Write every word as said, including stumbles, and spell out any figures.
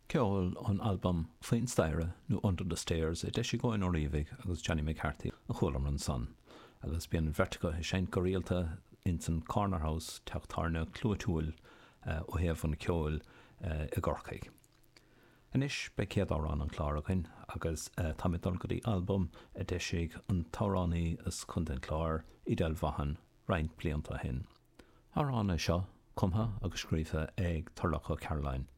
Ceol ón albam Faoin Staighre nó Under the Stairs a d'eisigh Eoin Ó Riabhaigh agus Johnny McCarthy a chualamar ansan, agus bíonn an bheirt acu ag seinnt go rialta ins an Corner House teach tábhairne clúitiúil ó thaobh an cheoil i gCorcaigh. Anois beidh céad amhrán an chláir againn agus táimid ag dul go dtí albam a d'eisigh an t-amhránaí as Contae an Chláir, Edel Vaughan, roinnt blianta ó shin. Amhrán é seo, cumtha agus scríofa ag Turlough Ó Cairealláin,